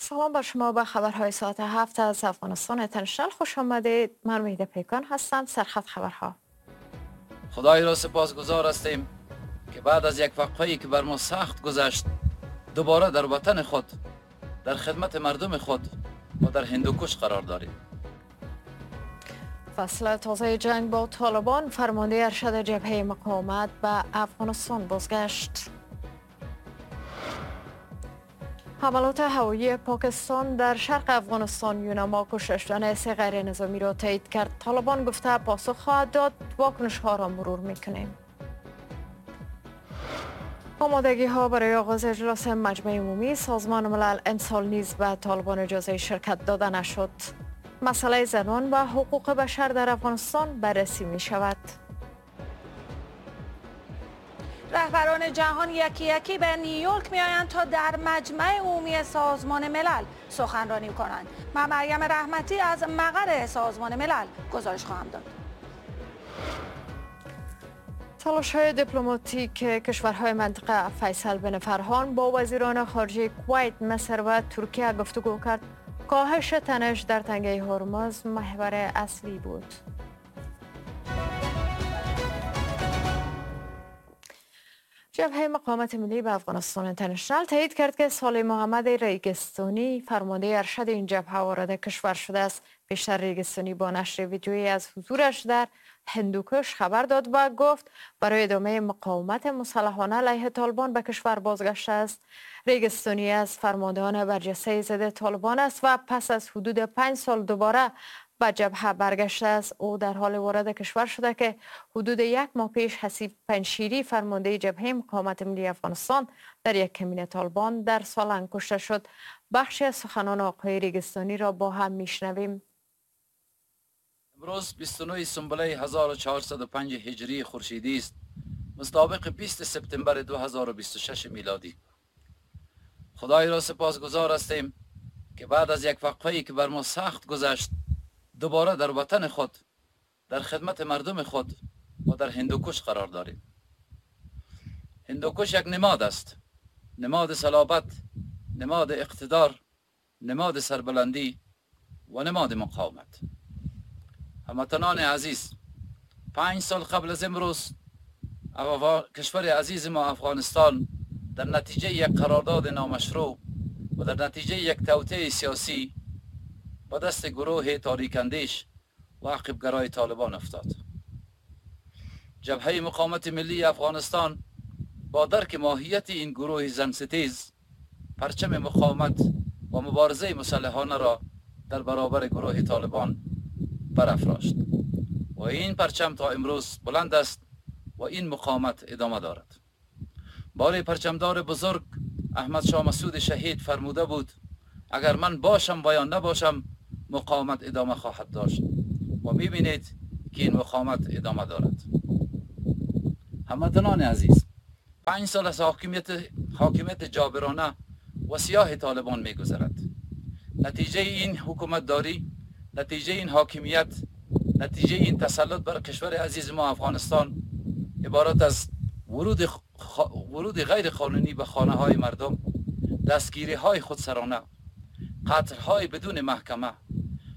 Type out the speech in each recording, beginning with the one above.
سلام بر شما، به خبرهای ساعت 7 از افغانستان اینترنشنال خوش آمدید. من وحیده پیکان هستم. سرخط خبرها. خدای را سپاسگزار هستیم که بعد از یک وقفه‌ای که بر ما سخت گذشت، دوباره در وطن خود، در خدمت مردم خود و در هندوکش قرار داریم. فصل تازه جنگ با طالبان، فرمانده ارشد جبهه مقاومت به افغانستان بازگشت. حملات هوایی پاکستان در شرق افغانستان، یوناما کشته شدن 3 غیر نظامی را تایید کرد. طالبان گفته پاسخ خواهد داد. واکنش ها را مرور میکنیم. آمادگی ها برای آغاز اجلاس مجمع عمومی سازمان ملل امسال نیز به طالبان اجازه شرکت داده نشد. مسئله زنان و حقوق بشر در افغانستان بررسی می شود. رهبران جهان یکی یکی به نیویورک می آیند تا در مجمع عمومی سازمان ملل سخنرانی کنند. من مریم رحمتی از مقر سازمان ملل گزارش خواهم داد. تلاش‌های دیپلماتیک کشورهای منطقه، فیصل بن فرهان با وزیران خارجه کویت، مصر و ترکیه گفتگو کرد. کاهش تنش در تنگه هرمز محور اصلی بود. جبهه مقاومت ملی به افغانستان اینترنشنال تایید کرد که صالح محمد ریگستانی، فرمانده ارشد این جبهه، وارد کشور شده است. بیشتر ریگستانی با نشر ویدیویی از حضورش در هندوکش خبر داد و گفت برای ادامه مقاومت مسلحانه علیه طالبان به کشور بازگشته است. ریگستانی از فرماندهان برجسته ضد طالبان است و پس از حدود 5 سال دوباره به جبهه برگشته است. او در حال وارد کشور شده که حدود 1 ماه پیش حسیب پنشیری، فرمانده جبهه مقاومت ملی افغانستان، در یک کمین طالبان در سالنگ کشته شد. بخشی از سخنان آقای ریگستانی را با هم میشنویم. امروز 29 سنبله 1405 هجری خورشیدی است، مطابق 20 سپتامبر 2026 میلادی. خدای را سپاسگزار هستیم که بعد از یک وقفه‌ای که بر ما سخت گذشت، دوباره در وطن خود، در خدمت مردم خود و در هندوکش قرار داریم. هندوکش یک نماد است، نماد صلابت، نماد اقتدار، نماد سربلندی و نماد مقاومت. هموطنان عزیز، 5 سال قبل از امروز کشور عزیز ما افغانستان در نتیجه یک قرارداد نامشروع و در نتیجه یک توطئه سیاسی با دست گروه تاریک‌اندیش و عقب‌گرای طالبان افتاد. جبهه مقاومت ملی افغانستان با درک ماهیت این گروه زن ستیز، پرچم مقاومت و مبارزه مسلحانه را در برابر گروه طالبان برافراشت و این پرچم تا امروز بلند است و این مقاومت ادامه دارد. باری پرچمدار بزرگ احمد شاه مسعود شهید فرموده بود اگر من باشم و یا نباشم مقاومت ادامه خواهد داشت و میبینید که این مقاومت ادامه دارد. هموطنان عزیز، 5 سال از حاکمیت جابرانه و سیاه طالبان میگذرد. نتیجه این حکومت داری، نتیجه این حاکمیت، نتیجه این تسلط بر کشور عزیز ما افغانستان عبارت از ورود غیر قانونی به خانه های مردم، دستگیری های خودسرانه، قتل های بدون محکمه،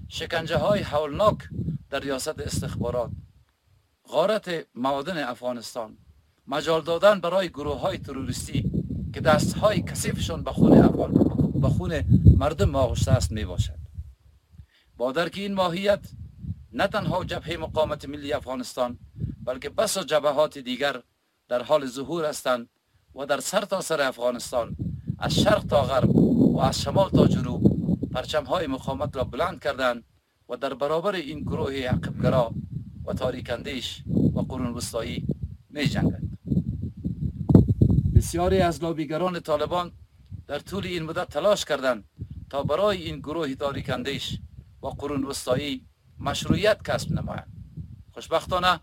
شکنجه های هولناک در ریاست استخبارات، غارت معادن افغانستان، مجال دادن برای گروه های تروریستی که دست های کثیفشان به خون مردم آغشته است می باشد. با درک این ماهیت نه تنها جبهه مقاومت ملی افغانستان بلکه بسا جبهات دیگر در حال ظهور هستند و در سرتاسر افغانستان از شرق تا غرب و از شمال تا جنوب پرچم‌های مقاومت را بلند کردند و در برابر این گروه عقب‌گرا و تاریک‌اندیش و قرون وسطایی می‌جنگند. بسیاری از لابیگران طالبان در طول این مدت تلاش کردند تا برای این گروه تاریک‌اندیش و قرون وسطایی مشروعیت کسب نمایند. خوشبختانه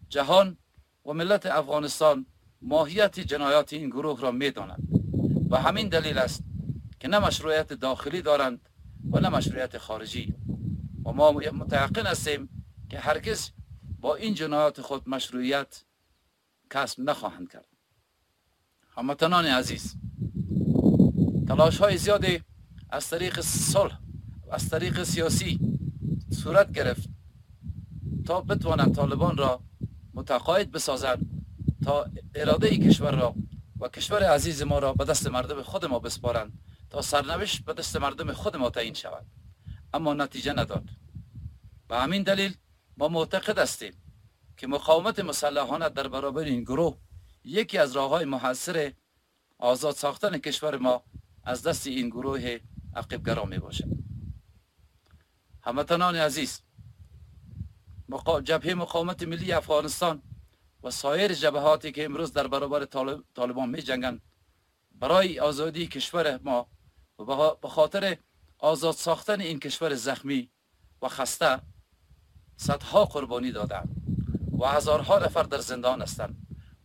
جهان و ملت افغانستان ماهیت جنایات این گروه را می‌دانند و همین دلیل است که نه مشروعیت داخلی دارند و نه مشروعیت خارجی و ما متیقن هستیم که هرگز با این جنایات خود مشروعیت کسب نخواهند کرد. هموطنان عزیز، تلاش های زیادی از طریق صلح، از طریق سیاسی صورت گرفت تا بتوانند طالبان را متقاعد بسازند تا اراده کشور را و کشور عزیز ما را به دست مردم خود ما بسپارند تا سرنوشت به دست مردم خود ما تعیین شود، اما نتیجه نداد. به همین دلیل ما معتقد هستیم که مقاومت مسلحانه در برابر این گروه یکی از راه‌های محصر آزاد ساختن کشور ما از دست این گروه عقب‌گرا می باشد. هموطنان عزیز، جبهه مقاومت ملی افغانستان و سایر جبهاتی که امروز در برابر طالبان می جنگند برای آزادی کشور ما و به خاطر آزاد ساختن این کشور زخمی و خسته صدها قربانی دادند و هزارها نفر در زندان هستند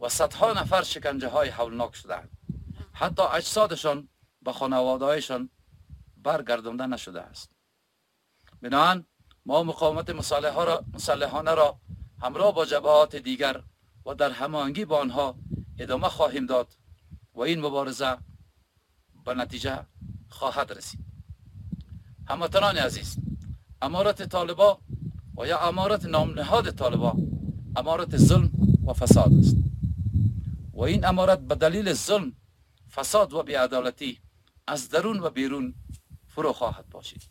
و صدها نفر شکنجه های هولناک شدند. حتی اجسادشان به خانواده‌هایشان برگردانده نشده است. بنابراین ما مقاومت مسلحانه را همراه با جبهات دیگر و در هماهنگی با آنها ادامه خواهیم داد و این مبارزه به نتیجه خواهد رسید. هموطنان عزیز، امارت طالبا و یا امارت نامنهاد طالبا امارت ظلم و فساد است و این امارت به دلیل ظلم، فساد و بی‌عدالتی از درون و بیرون فرو خواهد باشید.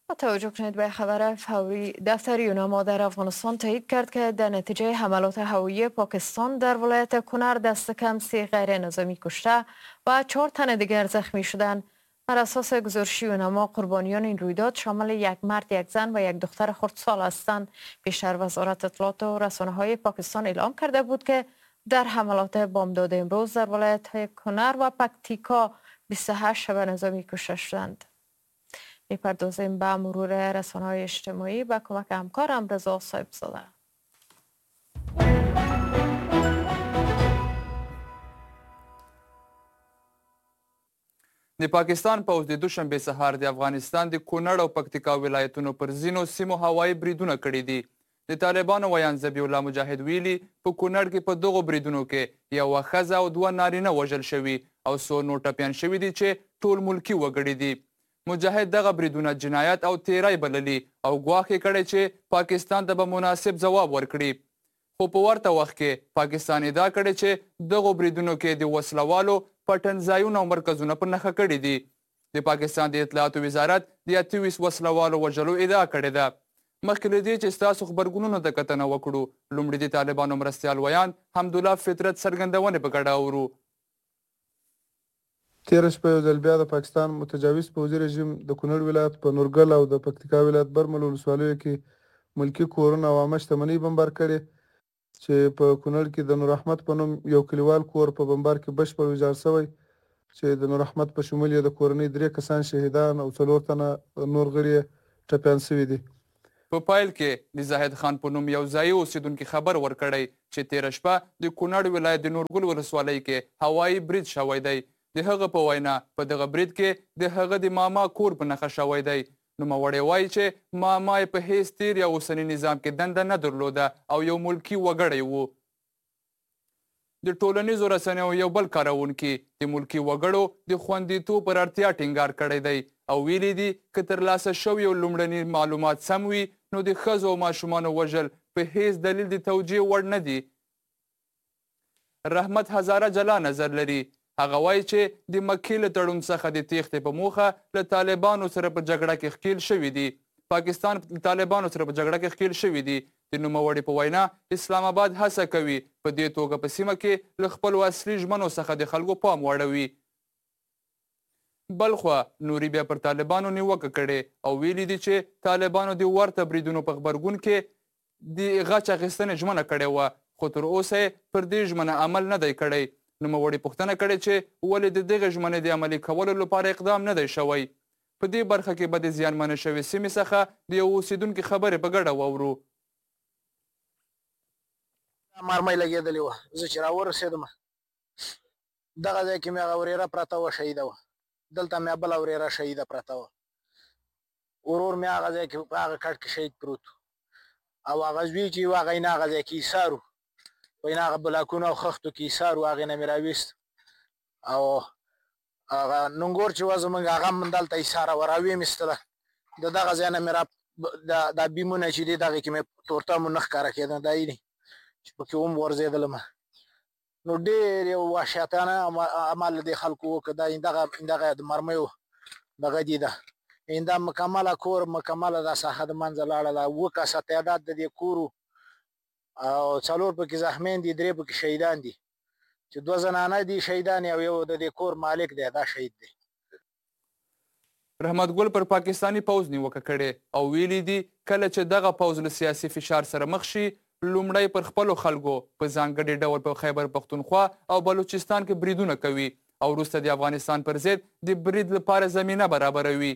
با توجه کنید به خبر فوری، دفتر یوناما در افغانستان تایید کرد که در نتیجه حملات هوایی پاکستان در ولایت کنر دست کم 3 غیر نظامی کشته و 4 تن دیگر زخمی شدند. بر اساس گزارش یوناما قربانیان این رویداد شامل 1 مرد، 1 زن و 1 دختر خردسال هستند. پیشتر وزارت اطلاعات و رسانه‌های پاکستان اعلام کرده بود که در حملات بامداد امروز در ولایت‌های کنر و پکتیکا 28 شبه نظامی کشته شدند. میپردازیم به مرور رسانه‌های اجتماعی با کمک همکارم رضا صاحبزاده. د پاکستان پوځ د دوشنبې سهار د افغانستان د کونړ او پکتیکا ولایتونو پر ځینو سیمو هوایي بریدونه کړي دي. د طالبانو ویاند ذبیح الله مجاهد ویلي په کونړ کې په دغو بریدونو کې یوه ښځه او 2 نارینه وژل شوي او څو نور ټپیان شوي دي چې ټول ملکي وګړي دي. مجاهد دغه بریدونه جنایت او تیری بللي او ګواښ یې کړی چې پاکستان ته به مناسب ځواب ورکړي. خو په ورته وخت کې پاکستان ادعا کړې چې دغو بریدونو کې د وسلوالو پټنځایونه او مرکزونه په نښه کړي دي. د پاکستان د اطلاعاتو وزارت د 28 وسلوالو وژلو ادعا کړې ده. مخکې له دې چې ستاسو غبرګونونو ته کتنه وکړو، لومړی د طالبانو مرستیال ویاند حمدالله فطرت څرګندونې په ګډه اورو. تېره شپه یو ځل بیا د پاکستان متجاوز پوځي رژیم د کونړ ولایت په نورګل او د پکتیکا ولایت برمل ولسوالیو کې ملکي کورونه او عامه شتمنۍ بمبار کړې چې په کونړ کې د نور احمد په نوم یو کلیوال کور په بمبار کې بشپړ ویجاړ شوی چې د نور احمد په شمول یې د کورنۍ 3 کسان شهیدان او 4 تنه نور غړي یې ټپیان شوي دي. په پیل کې د زاهد خان په نوم یو ځایي اوسېدونکي خبر ورکړی چې تېره شپه د کونړ ولایت د نورګل ولسوالۍ کې هوایي برید شوی دی. د هغه په وینا په دغه برید کې د هغه د ماما کور په نښه شوی دی. نوموړی وایي چې ماما یې په هیڅ تیر یا اوسني نظام کې دنده نه درلوده او یو ملکي وګړی و. د ټولنیزو رسنیو یو بل کاروونکي د ملکي وګړو د خوندیتوب پر اړتیا ټینګار کړی دی او ویلي دي که ترلاسه شویو لومړني معلومات سم وي نو د ښځو او ماشومانو وژل په هیڅ دلیل د توجیه وړ نه دي. رحمت هزاره جلا نظر لري. هغه وایي چې د مکې له تړون څخه د تېښتې په موخه له طالبانو سره په جګړه کې ښکیل شوي دي. پاکستان له طالبانو سره په جګړه کې ښکیل شوي دي. د نوموړي په وینا اسلام آباد هڅه کوي په دې توګه په سیمه کې له خپلو اصلي ژمنو څخه د خلکو پام واړوي. بلخوا نوري بیا پر طالبانو نیوکه کړې او ویلي دي چې طالبانو د ورته بریدونو په غبرګون کې د غچ اخیستنې ژمنه کړې وه، خو تر اوسه یې پر دې ژمنه عمل نه دی کړی. نوموړي پوښتنه کړې چې ولې د دغې ژمنې د عملي کولو لپاره اقدام نه دی شوی. په دې برخه کې به د زیانمنې شوې سیمې څخه د یو اوسېدونکي خبرې په ګډه واورو. مرمۍ لګېدلې وه، زه چې راورسېدم دغه ځای کې مې هغه ورېره پرته وه، شهیده وه. دلته مې بله ورېره شهیده پرته وه. ورور مې هغه ځای کې په هغه کټ کې شهید پروت او هغه زوی چې و هغه یې نه هغه ځای کې ایسار و، په هغه بلاکونو او خښتو کې ایسار و، هغې نه مې راویست او هغه ننګور چې وه زمونږ، هغه هم دلته ایساره وه، راویې مې ایستله. د دغه ځای نه مې را دا بیمونه چې دي دغې کې مې تورتمو نه ښکاره کېده، دا یې دي چې پکې وم غورځېدلم. نو ډېر یو وحشتانه عمل دې خلکو وکړ. دا دغه د مرمیو دغه دي، ده ایندا مکمله کور مکمله دا ساحه د منځه لاړه. دا اووه کسه تعداد د دې کورو، او 4 پکې زخمیان دي، 3 پکې شهیدان دي، چې 2 زنانه دي شهیدان او یو د دې کور مالک دی، دا شهید دی. رحمت ګل پر پاکستاني پوځ نیوکه کړې او ویلي دي کله چې دغه پوځ له سیاسي فشار سره مخ شي، لومړی پر خپلو خلکو په ځانګړي ډول په خیبر پښتونخوا او بلوچستان کې بریدونه کوي او وروسته د افغانستان پر ضد د برید لپاره زمینه برابروي.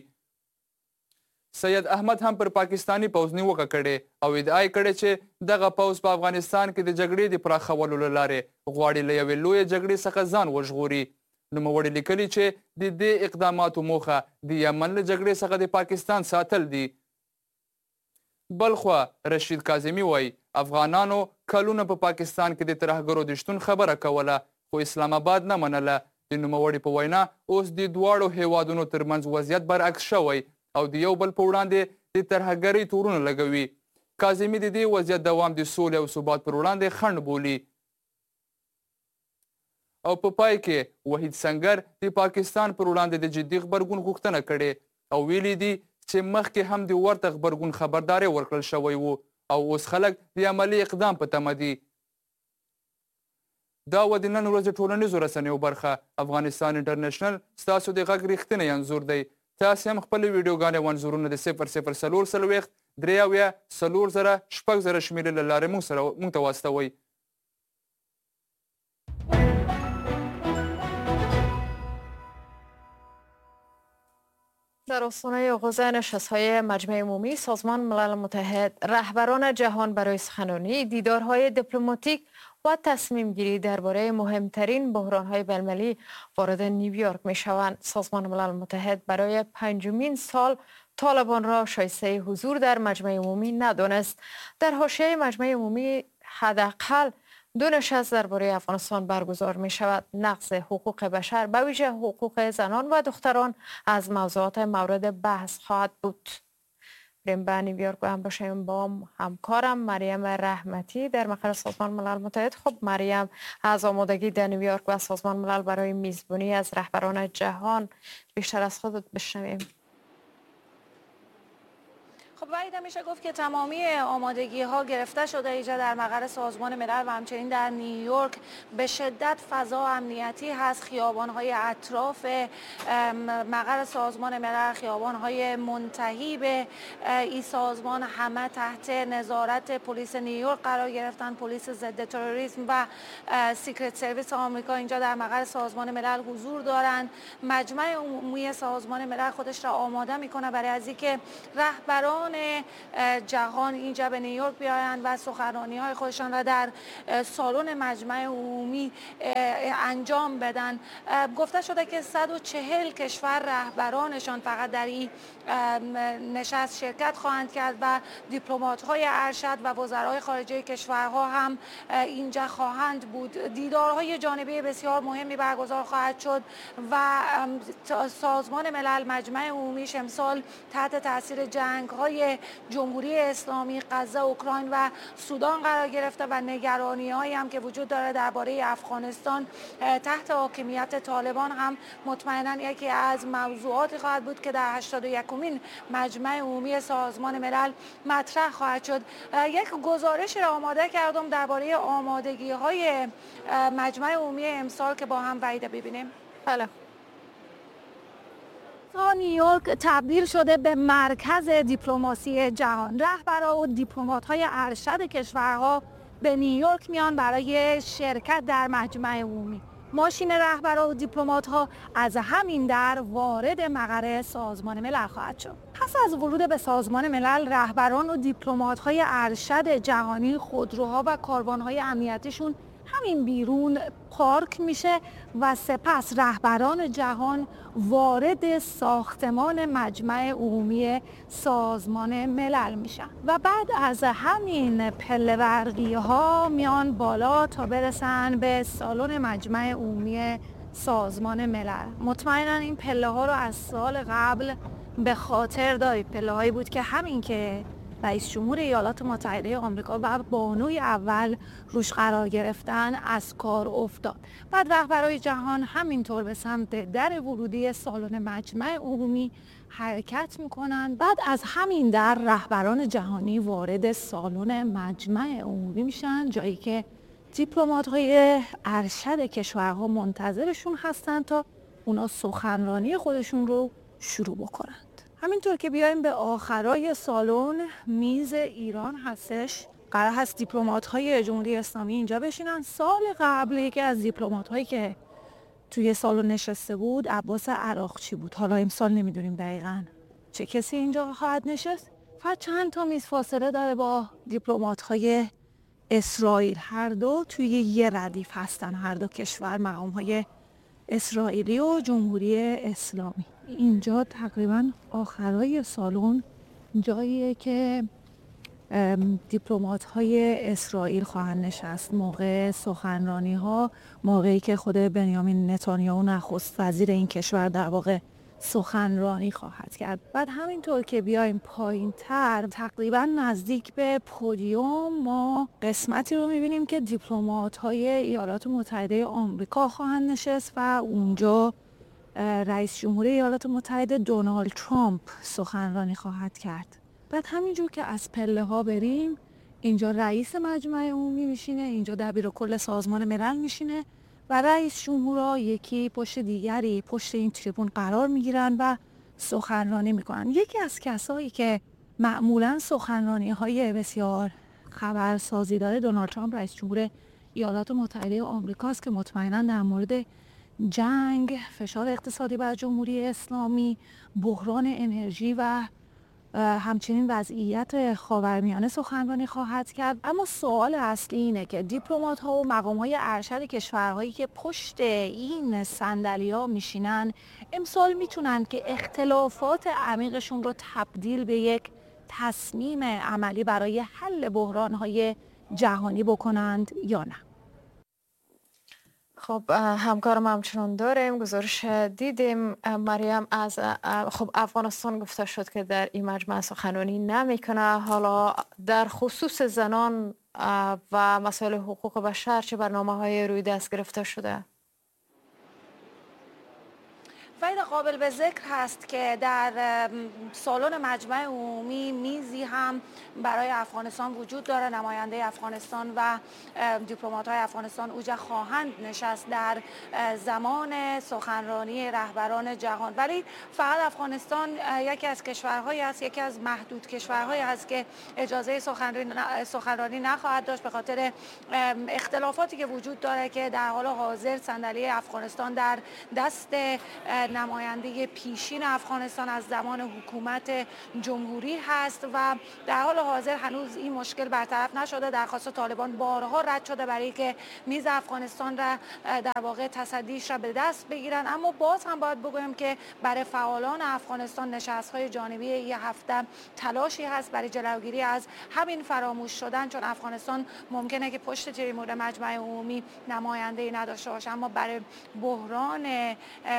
سید احمد هم پر پاکستاني پوځ نیوکه کړې او ادعا یې کړې چې دغه پوځ په افغانستان کې د جګړې د پراخولو له لارې غواړي له یوې لویې جګړې څخه ځان وژغوري. نوموړي لیکلي چې د دې اقداماتو موخه د یمن له جګړې څخه د پاکستان ساتل دي. بلخوا رشید کاظمي وایي افغانانو کلونه په پاکستان کې د ترهګرو د شتون خبره کوله، خو اسلام آباد نه منله. د نوموړي په وینا اوس د دواړو هیوادونو ترمنځ وضعیت برعکس شوی او د یو بل په وړاندې د ترهګرۍ تورونه لګوي. کاظمي د دې وضعیت دوام د سولې او ثبات پر وړاندې خنډ بولي. او په پای کې وحید سنګر د پاکستان پر وړاندې د جدي غبرګون غوښتنه کړې او ویلي دي چې مخکې هم د ورته غبرګون خبرداری ورکړل شوی و او اوس خلک د عملي اقدام په تمه دي. دا وه د نن ورځې ټولنیزو رسنیو برخه. افغانستان انټرنشنل ستاسو د غږ رښتینی انځور دی. تاسې هم خپلې ویډیوګانې او انځورونه د 0040 73 4000 6000 شمېرې له لارې موږ ته واستوئ. در آستانه آغاز نشست‌های مجمع عمومی سازمان ملل متحد، رهبران جهان برای سخنرانی، دیدارهای دیپلماتیک و تصمیم گیری درباره مهمترین بحران‌های بین‌المللی وارد نیویورک می‌شوند. سازمان ملل متحد برای 5مین سال طالبان را شایسته حضور در مجمع عمومی ندانست. در حاشیه مجمع عمومی حداقل 2 نشست درباره افغانستان برگزار می شود. نقض حقوق بشر به ویژه حقوق زنان و دختران از موضوعات مورد بحث خواهد بود. بریم به نیویورک و هم باشیم با همکارم مریم رحمتی در مقر سازمان ملل متحد. خب مریم، از آمادگی در نیویورک و سازمان ملل برای میزبانی از رهبران جهان بیشتر از خودت بشنویم. خب وحید، میشه گفت که تمامی آمادگی ها گرفته شده اینجا در مقر سازمان ملل و همچنین در نیویورک. به شدت فضا امنیتی هست. خیابان های اطراف مقر سازمان ملل، خیابان های منتهی به این سازمان، همه تحت نظارت پلیس نیویورک قرار گرفتن. پلیس ضد تروریسم و Secret Service آمریکا اینجا در مقر سازمان ملل حضور دارند. مجمع عمومی سازمان ملل خودش را آماده میکنه برای از اینکه رهبران جهان اینجا به نیویورک بیایند و سخنرانی‌های خودشان را در سالن مجمع عمومی انجام بدن. گفته شده که 140 کشور رهبرانشان فقط در این نشست شرکت خواهند کرد و دیپلمات‌های ارشد و وزرای خارجه کشورها هم اینجا خواهند بود. دیدارهای جانبی بسیار مهمی برگزار خواهد شد و سازمان ملل مجمع عمومیش امسال تحت تاثیر جنگ‌های جمهوری اسلامی، غزه، اوکراین و سودان قرار گرفته و نگرانی‌هایی هم که وجود داره درباره افغانستان تحت حاکمیت طالبان هم مطمئنا یکی از موضوعاتی خواهد بود که در 81مین مجمع عمومی سازمان ملل مطرح خواهد شد. یک گزارش را آماده کردم درباره آمادگی‌های مجمع عمومی امسال که با هم وحیده ببینیم. بله. نیویورک تبدیل شده به مرکز دیپلماسی جهان. رهبران و دیپلمات‌های ارشد کشورها به نیویورک میان برای شرکت در مجمع عمومی. ماشین رهبران و دیپلمات‌ها از همین در وارد مقر سازمان ملل خواهد شد. پس از ورود به سازمان ملل، رهبران و دیپلمات‌های ارشد جهانی، خودروها و کاروان‌های امنیتیشون همین بیرون پارک میشه و سپس رهبران جهان وارد ساختمان مجمع عمومی سازمان ملل میشن و بعد از همین پله برقی ها میان بالا تا برسن به سالن مجمع عمومی سازمان ملل. مطمئنا این پله ها رو از سال قبل به خاطر دارید. پله هایی بود که همین که رئیس جمهور ایالات متحده آمریکا و بانوی اول روش قرار گرفتن از کار افتاد. بعد رهبرای جهان همینطور به سمت در ورودی سالن مجمع عمومی حرکت میکنن. بعد از همین در رهبران جهانی وارد سالن مجمع عمومی میشن، جایی که دیپلمات‌های ارشد کشورها منتظرشون هستن تا اونا سخنرانی خودشون رو شروع بکنن. همینطور که بیایم به آخرای سالن، میز ایران هستش. قرار هست دیپلمات‌های جمهوری اسلامی اینجا بشینن. سال قبل یکی از دیپلمات‌هایی که توی سالن نشسته بود عباس عراقچی بود. حالا امسال نمیدونیم دقیقاً چه کسی اینجا خواهد نشست. فقط چند تا میز فاصله داره با دیپلمات‌های اسرائیل. هر دو توی یه ردیف هستن، هر دو کشور، مقام‌های اسرائیلی و جمهوری اسلامی. اینجا تقریبا آخرای سالن جاییه که دیپلمات‌های اسرائیل خواهند نشست موقع سخنرانی‌ها، موقعی که خود بنیامین نتانیاهو نخست وزیر این کشور در واقع سخنرانی خواهد کرد. بعد همینطور که بیایم پایین‌تر تقریبا نزدیک به پودیوم ما قسمتی رو می‌بینیم که دیپلمات‌های ایالات متحده آمریکا خواهند نشست و اونجا رئیس جمهوری ایالات متحده دونالد ترامپ سخنرانی خواهد کرد. بعد همینجور که از پله ها بریم، اینجا رئیس مجمع عمومی میشینه، اینجا دبیر کل سازمان ملل میشینه و رئیس جمهورها یکی پشت دیگری پشت این تریبون قرار میگیرن و سخنرانی میکنن. یکی از کسایی که معمولا سخنرانی های بسیار خبرسازی داره دونالد ترامپ رئیس جمهور ایالات متحده آمریکاست که مطمئنا در مورد جنگ، فشار اقتصادی بر جمهوری اسلامی، بحران انرژی و همچنین وضعیت خاورمیانه سخنرانی خواهد کرد. اما سوال اصلی اینه که دیپلمات‌ها و مقام‌های ارشد کشورهایی که پشت این صندلی‌ها میشینن امسال میتونن که اختلافات عمیقشون رو تبدیل به یک تصمیم عملی برای حل بحران‌های جهانی بکنند یا نه. خب همکارم همچنان داریم، گزارش دیدیم مریم از خب افغانستان گفته شد که در این مجمع سخنرانی نمیکنه. حالا در خصوص زنان و مسائل حقوق بشر چه برنامه های روی دست گرفته شده؟ فایده قابل به ذکر هست که در سالن مجمع عمومی میزی هم برای افغانستان وجود داره. نماینده افغانستان و دیپلمات‌های افغانستان اوجا خواهند نشست در زمان سخنرانی رهبران جهان. ولی فقط افغانستان یکی از کشورهایی است، یکی از محدود کشورهایی است که اجازه سخنرانی نخواهد داشت به خاطر اختلافاتی که وجود داره که در حال حاضر صندلی افغانستان در دست نماینده پیشین افغانستان از زمان حکومت جمهوری هست و در حال حاضر هنوز این مشکل برطرف نشده. درخواست طالبان بارها رد شده برای که میز افغانستان را در واقع تصدیش را به دست بگیرن. اما باز هم باید بگویم که برای فعالان افغانستان نشست‌های جانبی یه هفته تلاشی هست برای جلوگیری از همین فراموش شدن، چون افغانستان ممکنه که پشت تریبون مجمع عمومی نماینده‌ای نداشته باشه، اما برای بحران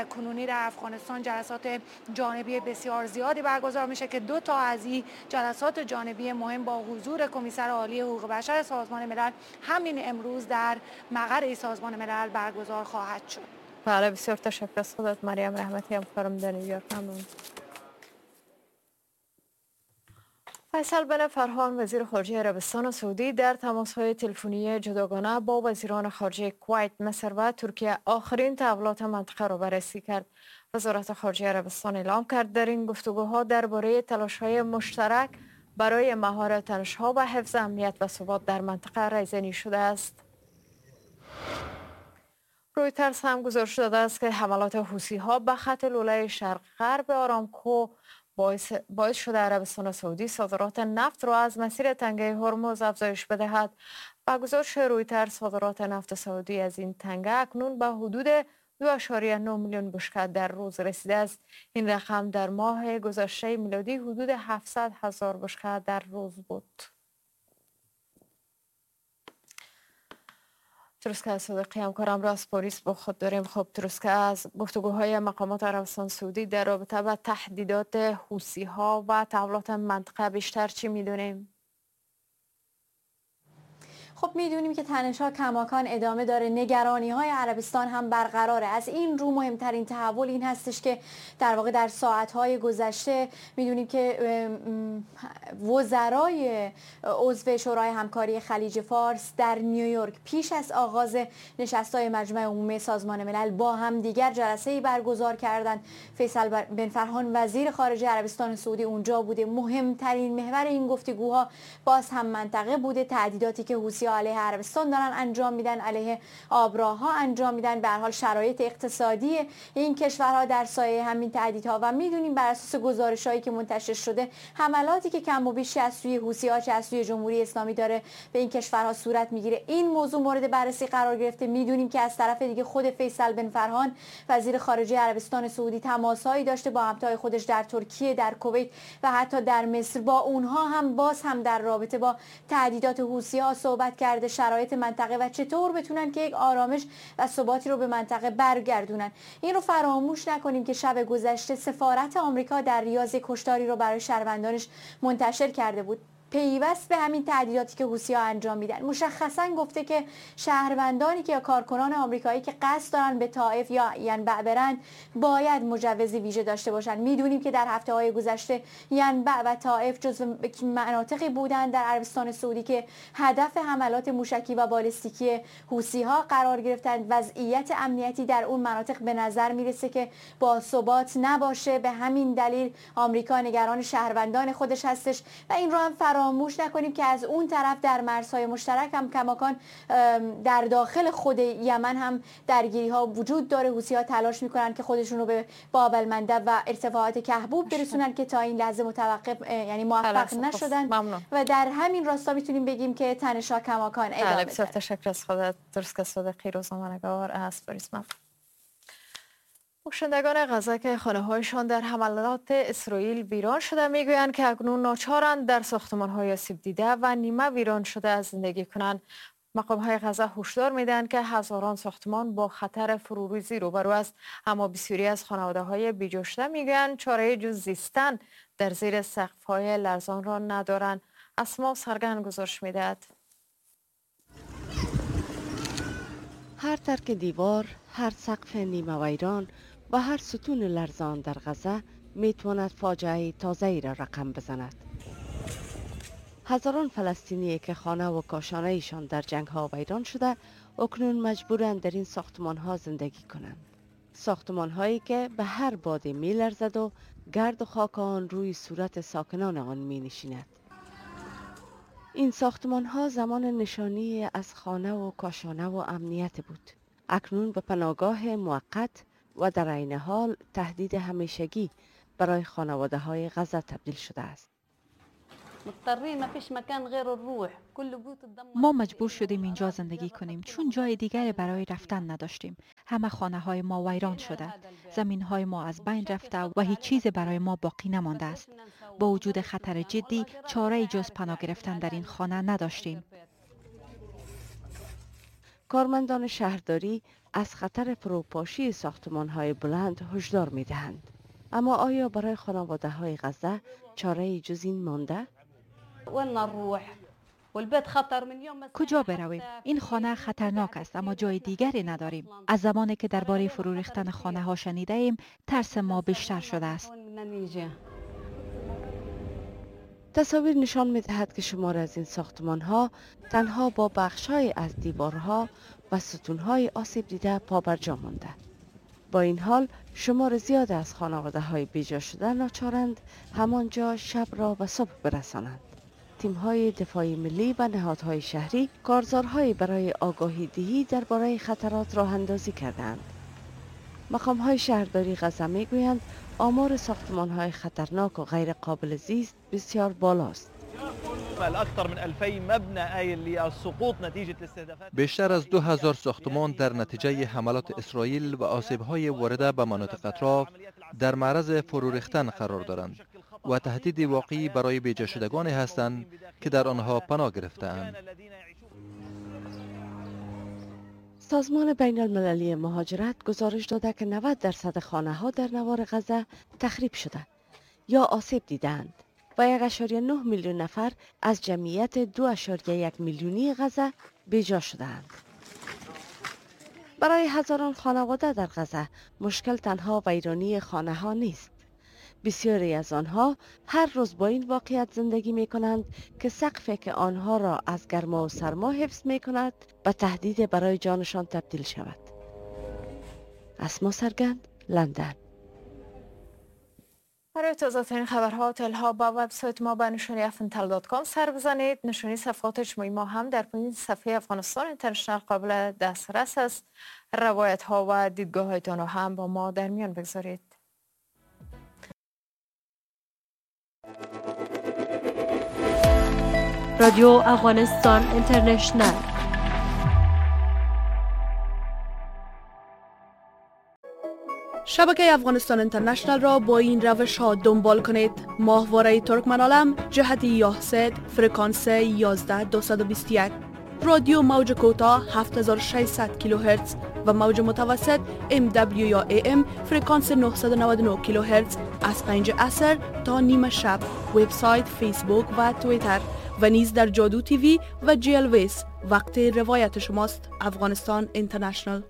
کنونی در افغانستان جلسات جانبی بسیار زیادی برگزار میشه که دو تا از این جلسات جانبی مهم با حضور کمیسر عالی حقوق بشر سازمان ملل همین امروز در مقر سازمان ملل برگزار خواهد شد. بله، بسیار تشکر از خودت مریم رحمتی، همکارم در نیویورک. ممنون. فیصل بن فرهان وزیر خارجه عربستان سعودی در تماس‌های تلفنی جداگانه با وزیران خارجه کویت، مصر و ترکیه آخرین تحولات منطقه را بررسی کرد. وزارت خارجه عربستان اعلام کرد در این گفتگوها درباره تلاش‌های مشترک برای مهار تنش‌ها و حفظ امنیت و ثبات در منطقه رایزنی شده است. رویترز هم گزارش داده است که حملات حوثی‌ها به خط لوله شرق غرب آرامکو باعث شده عربستان سعودی صادرات نفت را از مسیر تنگه هرمز افزایش بدهد. با گزارش رویترز صادرات نفت سعودی از این تنگه اکنون به حدود 2.9 میلیون بشکه در روز رسیده است. این رقم در ماه گذشته میلادی حدود 700 هزار بشکه در روز بود. تروسکه صادقی همکارم را از پاریس با خود داریم. خب تروسکه، از گفتگوهای مقامات عربستان سعودی در رابطه با تهدیدات حوثی ها و تحولات منطقه بیشتر چی میدونیم؟ خب میدونیم که تنش‌ها کماکان ادامه داره، نگرانی‌های عربستان هم برقراره. از این رو مهمترین تحول این هستش که در واقع در ساعت‌های گذشته میدونیم که وزرای عضو شورای همکاری خلیج فارس در نیویورک پیش از آغاز نشست‌های مجمع عمومی سازمان ملل با هم دیگر جلسه‌ای برگزار کردند. فیصل بن فرهان وزیر خارجه عربستان سعودی اونجا بوده. مهمترین محور این گفتگوها باز هم منطقه بوده، تهدیداتی که حوثی‌ها علیه عربستان دارن انجام میدن، علیه آبراها انجام میدن، به هر حال شرایط اقتصادی این کشورها در سایه همین تهدیدها و میدونیم بر اساس گزارش‌هایی که منتشر شده حملاتی که کم و بیش از سوی حوثی‌ها چه از سوی جمهوری اسلامی داره به این کشورها صورت میگیره، این موضوع مورد بررسی قرار گرفته. میدونیم که از طرف دیگه خود فیصل بن فرهان وزیر خارجه عربستان سعودی تماس‌هایی داشته با همتای خودش در ترکیه، در کویت و حتی در مصر، با اونها هم باز هم در رابطه با تهدیدات حوثی‌ها صحبت کرده، شرایط منطقه و چطور بتونن که یک آرامش و ثباتی رو به منطقه برگردونن. این رو فراموش نکنیم که شب گذشته سفارت آمریکا در ریاض کشتاری رو برای شهروندانش منتشر کرده بود، پیوست به همین تهدیداتی که حوثی‌ها انجام میدن. مشخصا گفته که شهروندانی که یا کارکنان آمریکایی که قصد دارن به طائف یا ینبع برن باید مجوز ویژه داشته باشن. میدونیم که در هفته‌های گذشته ینبع و طائف جزو مناطقی بودن در عربستان سعودی که هدف حملات موشکی و بالستیکی حوثی‌ها قرار گرفتند. وضعیت امنیتی در اون مناطق به نظر میرسه که با ثبات نباشه، به همین دلیل آمریکا نگران شهروندان خودش هستش و این رو هم فراموش نکنیم که از اون طرف در مرزهای مشترک هم کماکان در داخل خود یمن هم درگیری ها وجود داره. حوثی‌ها تلاش میکنن که خودشون رو به باب المندب و ارتفاعات کهبوب برسونن که تا این لحظه متوقف یعنی موفق نشدن و در همین راستا میتونیم بگیم که تنش‌ها کماکان ادامه داره. بسیار تشکر از خودت تروسکه صادقی، روزنامه‌نگار از پاریس. باشندگان غزه که خانه‌هایشان در حملات اسرائیل ویران شده میگویند که اکنون ناچارند در ساختمان‌های آسیب دیده و نیمه ویران شده زندگی کنند. مقام‌های غزه هشدار میدهند که هزاران ساختمان با خطر فروریزی روبرو است، اما بسیاری از خانواده‌های بیجا شده میگویند چاره جز زیستن در زیر سقف‌های لرزان را ندارند. اسما سرگن گزارش میدهد. هر ترک دیوار، هر سقف نیمه ویران و هر ستون لرزان در غزه میتواند فاجعه تازه‌ای را رقم بزند. هزاران فلسطینی که خانه و کاشانه ایشان در جنگ ها ویران شده اکنون مجبورند در این ساختمان ها زندگی کنند. ساختمان هایی که به هر باد می لرزد و گرد و خاک آن روی صورت ساکنان آن می نشیند. این ساختمان ها زمان نشانی از خانه و کاشانه و امنیت بود. اکنون به پناهگاه موقت و در عین حال تهدید همیشگی برای خانواده های غزه تبدیل شده است. ما مجبور شدیم اینجا زندگی کنیم چون جای دیگری برای رفتن نداشتیم. همه خانه های ما ویران شده، زمین های ما از بین رفته و هیچ چیز برای ما باقی نمانده است. با وجود خطر جدی چاره جز پناه گرفتن در این خانه نداشتیم. کارمندان شهرداری از خطر فروپاشی ساختمان‌های بلند هشدار می‌دهند. اما آیا برای خانواده‌های غزه چاره جز این مانده؟ کجا برویم؟ این خانه خطرناک است اما جای دیگری نداریم. از زمانی که درباره فرو ریختن خانه ها شنیده ایم ترس ما بیشتر شده است. تصاویر نشان می‌دهد که شمار از این ساختمان‌ها تنها با بخش‌های از دیوارها و ستون‌های آسیب دیده پابرجا مانده. با این حال شمار زیاد از خانواده‌های بیجا شده ناچارند همانجا شب را به صبح برسانند. تیم‌های دفاعی ملی و نهادهای شهری کارزارهایی برای آگاهی دهی درباره خطرات راه اندازی کردند. مقام‌های شهرداری غزه می‌گویند آمار ساختمان‌های خطرناک و غیر قابل زیست بسیار بالاست. بیشتر از 2000 ساختمان در نتیجه حملات اسرائیل و آسیب‌های وارده به مناطق اطراف در معرض فرو ریختن قرار دارند و تهدید واقعی برای بیجا شدگانی هستند که در آنها پناه گرفته‌اند. سازمان بین المللی مهاجرت گزارش داده که 90% خانه ها در نوار غزه تخریب شده یا آسیب دیدند و 1.9 میلیون نفر از جمعیت 2.1 میلیونی غزه بیجا شدند. برای هزاران خانواده در غزه مشکل تنها ویرانی خانه ها نیست. بسیاری از آنها هر روز با این واقعیت زندگی می کنند که سقفی که آنها را از گرما و سرما حفظ می کند به تهدید برای جانشان تبدیل شود. اسما سرگند، لندن. برای تازه‌ترین خبرها و اطلاعات با وبسایت ما به نشانی afntel.com سر بزنید. نشانی صفحات اجتماعی ما هم در پایین صفحه افغانستان اینترنشنال قابل دسترس است. روایت ها و دیدگاه هایتان را هم با ما در میان بگذارید. رادیو افغانستان اینترنشنال. شبکه افغانستان اینترنشنال را با این روش ها دنبال کنید. ماهواره ترکمن عالم جهت یاهست فرکانس 11221، رادیو موج کوتاه 7600 کیلوهرتز و موج متوسط MW یا AM فرکانس 999 کیلوهرتز از 5 عصر تا نیمه شب. وبسایت، فیسبوک و توییتر و نیز در جادو تیوی و جیلویس. وقت روایت شماست. افغانستان اینترنشنال.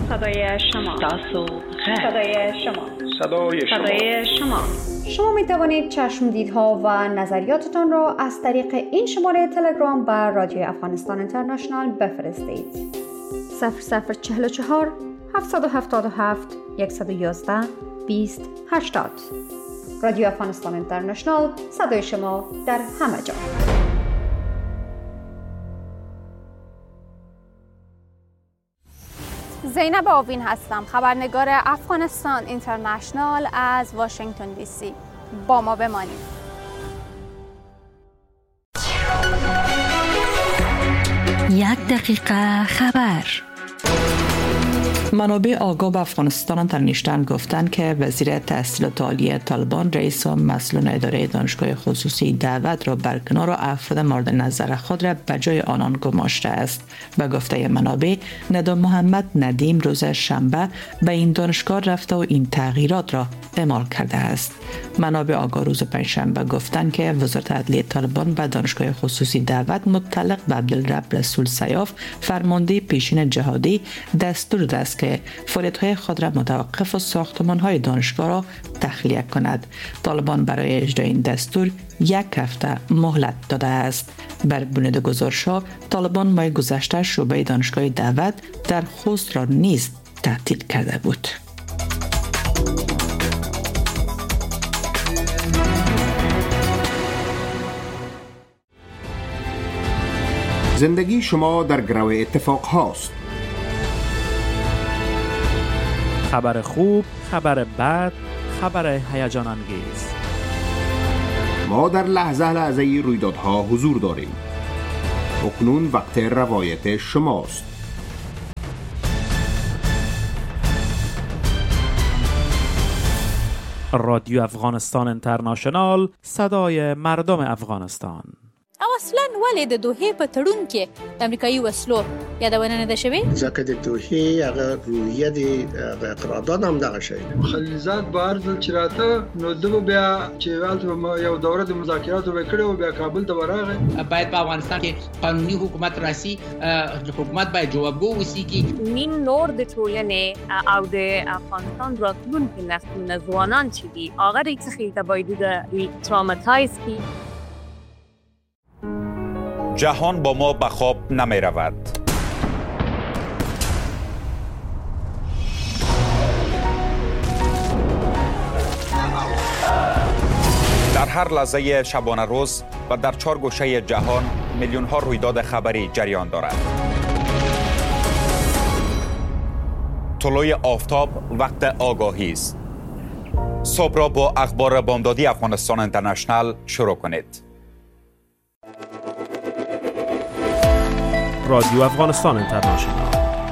صدای شما، صدای شما، صدای شما، صدای شما. شما می توانید چشم دیدها و نظریاتتان را از طریق این شماره تلگرام به رادیو افغانستان اینترنشنال بفرستید. 0044 777 111 20 80. رادیو افغانستان اینترنشنال، صدای شما در همه جا. زینب آوین هستم، خبرنگار افغانستان اینترنشنال از واشنگتن دی سی. با ما بمانید. یک دقیقه خبر. منابع آگاه به افغانستان اینترنشنال گفتند که وزیر تحصیلات عالی طالبان رئیس و مسئولان اداره دانشگاه خصوصی دعوت را برکنار و افراد مورد نظر خود را به جای آنان گماشته است. به گفته منابع، ندا محمد ندیم روز شنبه به این دانشگاه رفته و این تغییرات را اعمال کرده است. منابع آگاه روز پنجشنبه گفتند که وزارت عدلیه طالبان به دانشگاه خصوصی دعوت متعلق به عبدالرب رسول سیاف، فرمانده پیشین جهادی، دستور داده است که فعالیت‌های خود را متوقف و ساختمان‌های دانشگاه را تخلیه کند. طالبان برای اجرای این دستور یک هفته مهلت داده است. بر بنیاد گزارش‌ها، طالبان ماه گذشته شعبه دانشگاه دعوت در خوست را نیز تعطیل کرده بود. زندگی شما در گرو اتفاق هاست. خبر خوب، خبر بد، خبر هیجان انگیز. ما در لحظه لحظه رویدادها حضور داریم. اکنون وقت روایت شماست. رادیو افغانستان اینترنشنال، صدای مردم افغانستان. او اصلا ولې د دوحې په تړون کې د امریکایي وسلو یادونه نه ده شوې؟ ځکه د دوحې هغه روحیه د هغه قرارداد هم دغه شی. خلیلزاد به هر ځل چې راته نو ده به بیا چې هلته یو دوره د مذاکراتو به کړې و، بیا کابل ته به راغی. باید په افغانستان کې قانوني حکومت راسي، حکومت باید جوابګو اوسي. نیم نور د ټولنې او د افغانستان راتلونکي نسلونه ځوانان چې دي هغه دې څخه ته باید دوی traumatize کړي. جهان با ما به خواب نمی رود. در هر لحظه شبانه روز و در چهار گوشه جهان میلیون ها رویداد خبری جریان دارد. طلوع آفتاب وقت آگاهی است. صبح را با اخبار بامدادی افغانستان اینترنشنال شروع کنید. رادیو افغانستان اینترنشنال.